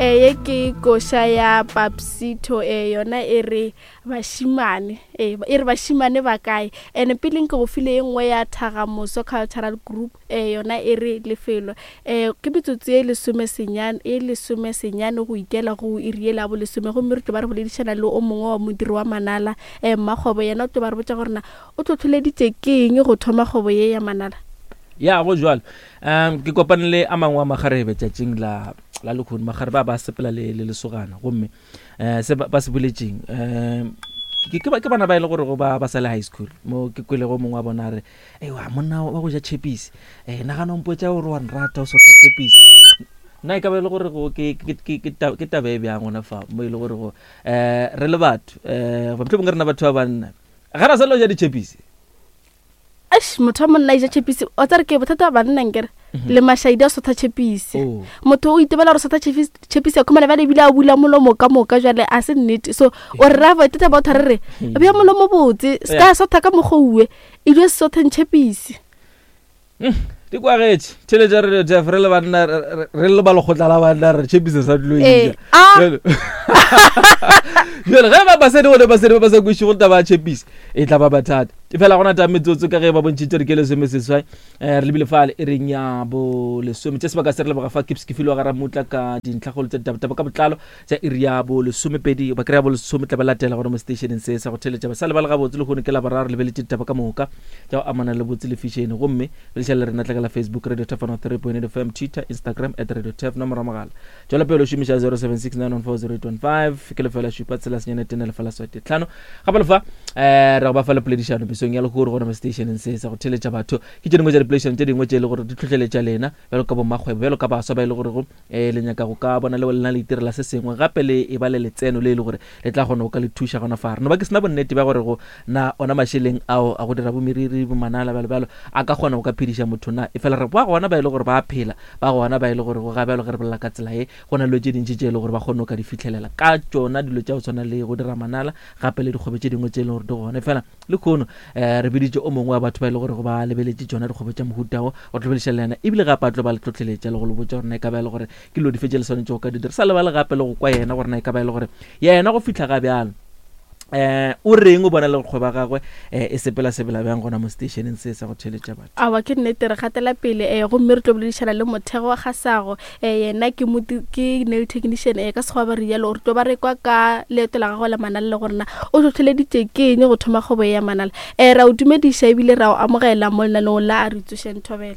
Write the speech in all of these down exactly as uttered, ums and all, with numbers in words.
Ye ke koša ya Papsito, e yona e re bašimane, e e re bašimane ba kae. Ene pele nke go file ye nngwe ya Thagamoso Cultural Group, e yona e re lefelo. um Ke metsotso e lesome senyane e lesome senyane go ikela go iri ye la bo lesome, gomme re tlo ba re boledišana le o mongwe wa modiri wa manala, um mmakgwebo. Yena o tlo ba re botša gore na o tlhotlholeditše ke eng go thoma kgwebo ye ya manala. Ya go jwalo, um ke kopane le a mangwe a magarebe tšatšing la la lekgono. Magarebe a ba sepela le le lesogana, gomme um se ba se boletšeng, um ke ke bana ba e le gore go ba ba sa le high school. Mo ke kwelego mongwe wa bona a re, ewa monna wa go ja chepisi, um nagana o mpotša gore wa nrata o sotla chepisi. Nna e ka ba e le gore go ke ke ke ke taba e bjang gona fa mo e le gore go um re le batho, um mohlomongwe rena batho ba banna ga ra sa le go ja ditšhepisi. Eish, motho wa monna e ja tšhepisi, o tsare ke bothata ba banna nkere le mašaidi a sotha tšhepisi. Oh. Motho o itebela gore sotha tšhepisi a khumana bjale ebile a bula molomo ka moka, jale a se nnete. So o re ra bothata ba otha re re bja molomo botse se ka sotha ka mokgwa uwe e dio sotheng tšhepisi. Di kwagetše tšhelete re Jeff, re le banna, re re le ba lekgotla la banna, re tšhepise sa dilo. Eh, eja ah. Jale ge ba basadi gone basadi ba ba sa kweše go taba ya tšhepisi e tla ba bathata. E fela gona ta metsotso ka ge ba bontšhitše re ke lesome seswai, um re lebile fale e reng ya bo lesome tše sebaka se re leboga fa kips ke filwe ga ramutla ka dintlhakgolo tša ditabataba ka botlalo tša iri ya bo lesomepedi ba kry-a bo lesome tla ba latela gona mo stationeng se sa go theletša basale ba le gabotse. Le kgone ke la boraro lebeletše ditaba ka moka tša go amana le botse le fišene, gomme beleša le rena tlakela Facebook Radio Tef one three point eight F M, Twitter, Instagram at Radio Tef. Nomoro ya mogala tšwela pele o šomiša zero seven six nine one four zero eight one five, ke lefela šupa tshela senyane tene lefela swete tlhano. Gape lefa um re go ba fa le poledišano mesong ya lekgoro gona mo stationeng se sa go theletša batho. Ke tše dingwe tša dipoledišano tše dingwe tše e le gore di tlhohleletša lena bjalo ka bommakgwebo, bjalo ka baswa ba e le gorego um le nyaka go ka bona le lena le itirela se sengwe, gape le e ba le letseno le e le gore le tla kgona go ka le thuša gona fa. Re no ba ke sena bonnete bja gore go na ona mašeleng ao a go dira bomeriri bomanala bjalo bjalo a ka kgona go ka phediša motho na. E fela re ba gona ba e le gore ba a phela, ba gona ba e le gore go ga bjalo ge re bolela ka tsela ye go na le dilo tše dintši tše e le gore ba kgone go ka di fitlhelela ka tšona dilo tša go tshwana le go dira manala, gape le dikgwebo tše dingwe tše e leng gore di gona. E fela le kgono um re biditše o mongwe wa batho ba e le gore go ba lebeletše tšona dikgwebo tša mohutao go tlobediša le yena, ebile gape a tlo ba le tlhotlheletša le go le botša gore na e ka ba e le gore ke dilo dife tše le swanetše go ka di dira. Sa lebale gape le go kwa yena gore na e ka ba e le gore yena go fihla ga bjalo um o reng o bona le kgwebo ya gagwe um e sepela sepela bjang gona mo stationeng se sa go theletša batho. Awa ke nnete, re gatela pele, um gomme re tlo boledišana le Mothego wa Gasago. um Yena ke moti ke nail technician, um ka sekgowa ba re rialo. Re tlo ba re kwa ka leeto la gagwe la manala le gore na o tlhotlheleditše ke eng go thoma kgwebo ye ya manala. um Ra o dumediša ebile ra o amogela mo lenaneong la a re tsošeng. Thobela.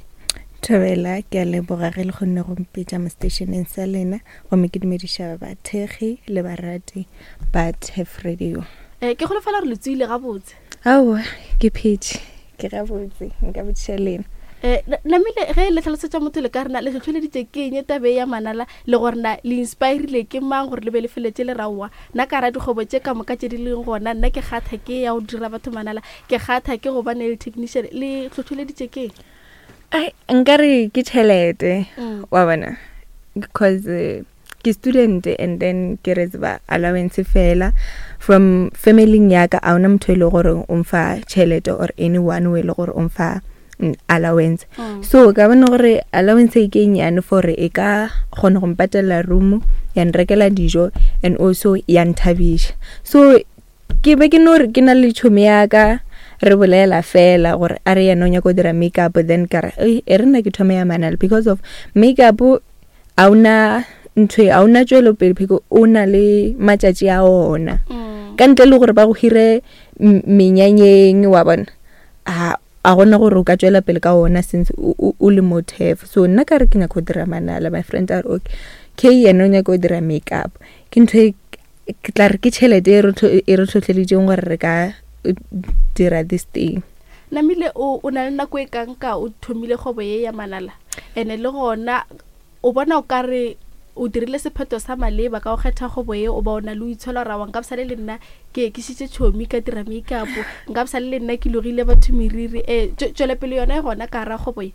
Thobela, ke a leboga ge le kgonne go mpitša mo stationeng sa lena, gomme ke dumediša bathekgi le barati ba Tef Radio. um Ke golofela gore le tsoile gabotse. Aowa, ke phetše, ke gabotse, nka botšiša lena. um Namile ge le tlhalosetša motho le ka rena le tlhotlheleditše ke eng tabe ya manala, le gore na le inspirile ke mang gore le be le feletse le raowa nna ka ra dikgwebo tše ka moka tše di leng gona, nna ke kgatha ke ya go dira batho manala, ke kgatha ke go ba nail technician, le tlhotlheleditše ke eng? Ai, nkare ke tšhelete, Mm. wa bona, because uh, ke student and then ke re tseba allowance fela from family ya ka, a ona motho e le gore o mfa tšhelete or anyone o e le gore o mfa mm, allowance. Mm. So ka bona gore allowance e ke e nnyane for e ka kgona go mpatela room, ya nrekela dijo and also ya nthabiša. So ke be ke no re ke na le tšhomi ya ka, re bolela fela gore a re yena o nyaka go dira makeup, then ka re "Ei, e re nna ke thome ya manala because of makeup a ona ntho e, a ona tšwelopele because o na le matšatši a ona Mm. ka ntle le gore ba go hire m- menyanyeng, wa bona, a a gona gore o ka tšwela pele ka ona since o o- o le mo Tef. So nna ka re ke nyaka go dira manala, my friend a re okay, k yena o nyaka go dira makeup. Ke ntho e ke tla re ke tšhelete e re tlho- e re tlhotlheleditseng gore re ka eh, dira this thing. Namile o o na le nako e kanka o thomile kgwebo ye ya manala, ene le gona o bona o ka re o dirile sephetho sa maleba ka go kgetha kgwebo ye, o ba o na le o itshola gore aowa nka bosale le nna ke ekišitše tšhomi ka dira makeup, nka bosale le nna ke logile batho meriri? um Tšwelopele yona e gona ka gara kgwebo ye?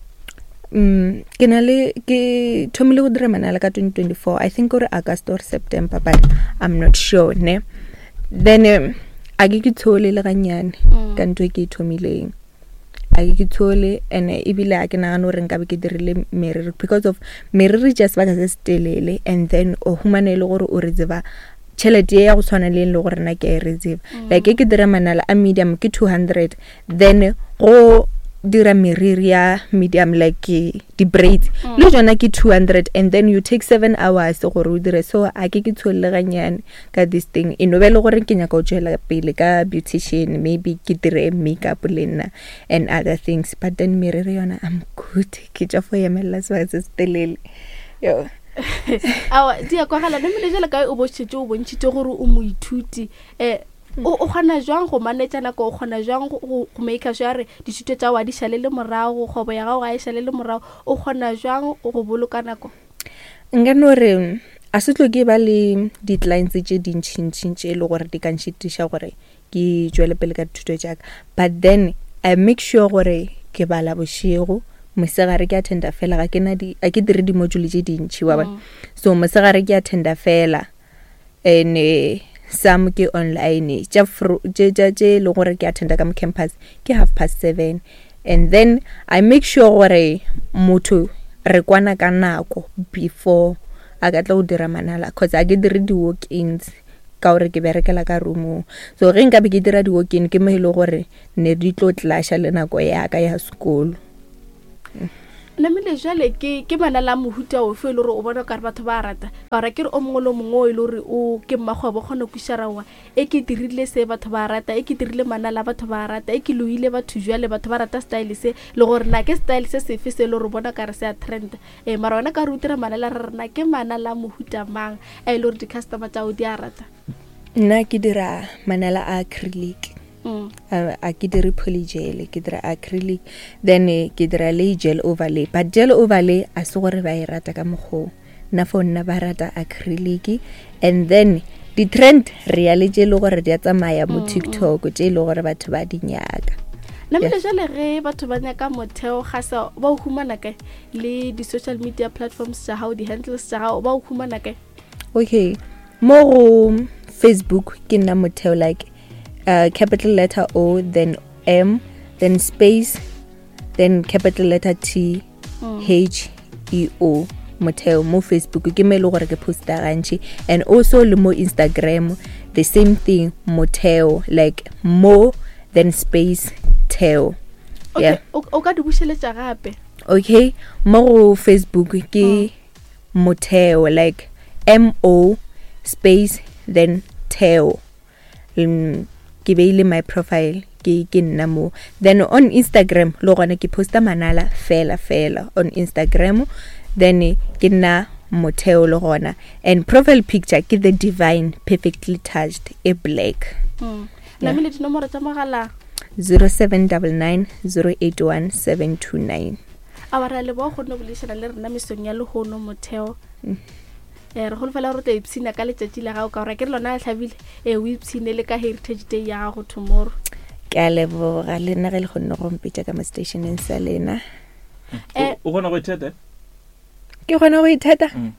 Mm, ke na le ke thomile go dira manala ka twenty twenty-four, I think gore August or September, but I'm not sure ne. Then um, a ke ke tshole le gannyane Mm. ka ntho e ke e thomileng. A ke tshole, and ebile a ke nagane gore nkabe ke dirile meriri because of meriri tša sebaka se se telele, and then o humane e le gore o re tseba tšhelete ya go tshwana le e le gore nna ke a e re tseba. Like e ke dira manala a medium ke two hundred, then go dira meriri ya medium like di-braids le tsona ke two hundred, and then you take seven hours gore o dire. So a ke ke tsholele ganyane ka this thing, e no be le gore ke nyaka go tswela pele ka beautician, maybe ke dire makeup le nna and other things, but then meriri yona I'm good, ke tša fo emelela sebaka se se telele yo. Aowa, di a kwagala. Namile jale kae o bošetse o bontšhitše gore o moithuti, um o o kgona jwang go manage nako, o kgona jwang go go make sure re dithuto tša wa di šalele morago, kgwebo ya gago ga e šalele morago, o kgona jwang go boloka nako? Nka no re a se tlo ke ba le di-clients tše dintšhintšhi tše e le gore di ka nšitiša gore ke tšwele pele ka dithuto tša ka, but then I make sure gore ke bala bošego, mosegare ke attenda fela, ga ke na di a ke dire di-module tše dintšhi wa bona. So mosegare ke attenda fela, and eh, some ke online tša tše tše tše e leng gore ke attenda ka mo campus ke half past seven, and then I make sure gore motho re kwana ka nako before a ka tla go dira manala, cause a ke dire di-walk-ins ka gore ke berekela ka roomong. So ge nkabe ke dira di-walk-in ke mo e le gore ne di tlo clasha le nako ya ka ya sekolo. Namile jale ke ke manala a mohuta ofe e le gore o bona kare batho ba rata, ka gore ke re o mongwe le o mongwe o e le gore o ke mmakgwebo kgona go kwešiša raowa e ke dirile se batho ba rata, e ke dirile manala batho ba rata, e ke loile batho jwale batho ba rata style se, le gore na ke style se sefe se e le gore o bona kare se a trend. Ee, mara wena ka re o dira manala, re re na ke manala a mohuta mang a e le gore di-customer tša gago di a rata? Nna ke dira manala a acrylic. Mm. A a ke dire polygel, ke dira acrylic, then eh, ke dira le gel overlay, but gel overlay a se gore ba e rata ka mokgoo nna, for nna ba rata acrylic. And then di-trend re ya le tše e le gore di a tsamaya mo TikTok, tše e le gore batho ba di nyaka. Namile jale ge batho ba nyaka Motheo Gasa, ba o humana kae le di-social media platforms tša gago, di-handles tša gago, ba o humana kae? Okay, mo go Facebook ke nna Motheo, like uh, capital letter O, then M, then space, then capital letter T, Mm. H E O, Motheo mo Facebook ke mo e le gore ke posta gantši, and also le mo Instagram the same thing, Motheo, like mo then space Theo. Okay, Yeah. o o ka di bušeletša gape? Okay, mo go Facebook ke Motheo, like M O space then Theo. Mm, ke beile my profile ke ke nna mo. Then on Instagram le gona ke posta manala fela fela on Instagram, then eh, ke nna Motheo le gona, and profile picture ke the divine perfectly touched e black. Mm. Yeah. Namile dinomoro tša mogala? Zero seven double nine zero eight one seven two nine. A wa re a leboga kgonne go boledišana le rena mesong ya lehono, Motheo. Mm. Eh, re holofela gore o tla ipshina ka letšatši la gago, ka gore ke re lona le hlabile, ee o ipshine le ka Heritage Day ya gago tomorrow. Ke a leboga le nna ge le kgonne go mpitša ka mo stationeng sa lena. Eh, o kgona go itheta? Ke kgona go itheta. Mm.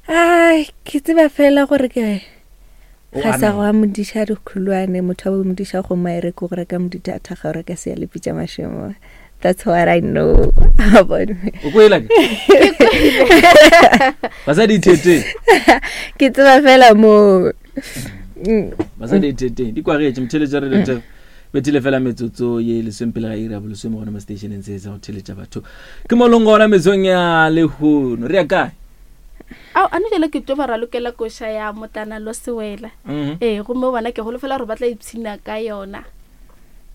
Ai, ke tseba fela gore ke O ga sa amen. go a modiša dikhulwane, motho wa bo modiša kgomo a e reke go reka modithatha ga o reka seyalepi tša mašemo. That's what I know about me. O kwela ke basadi itheteng? Ke tseba fela mo. Mm. Basadi itheteng di kwagetše motheletša re lete bethile fela metsotso ye lesomepele ga iri ya bolesome gona mo stationeng se sa go theletša batho ke molong gona mesong ya lehono. Re ya kae? Ao ano jale ke tlo ba ralokela koša ya Motlana lo Sewela. Mhm. Ee, gomme bona ke holofela gore ba tla ipshina ka yona.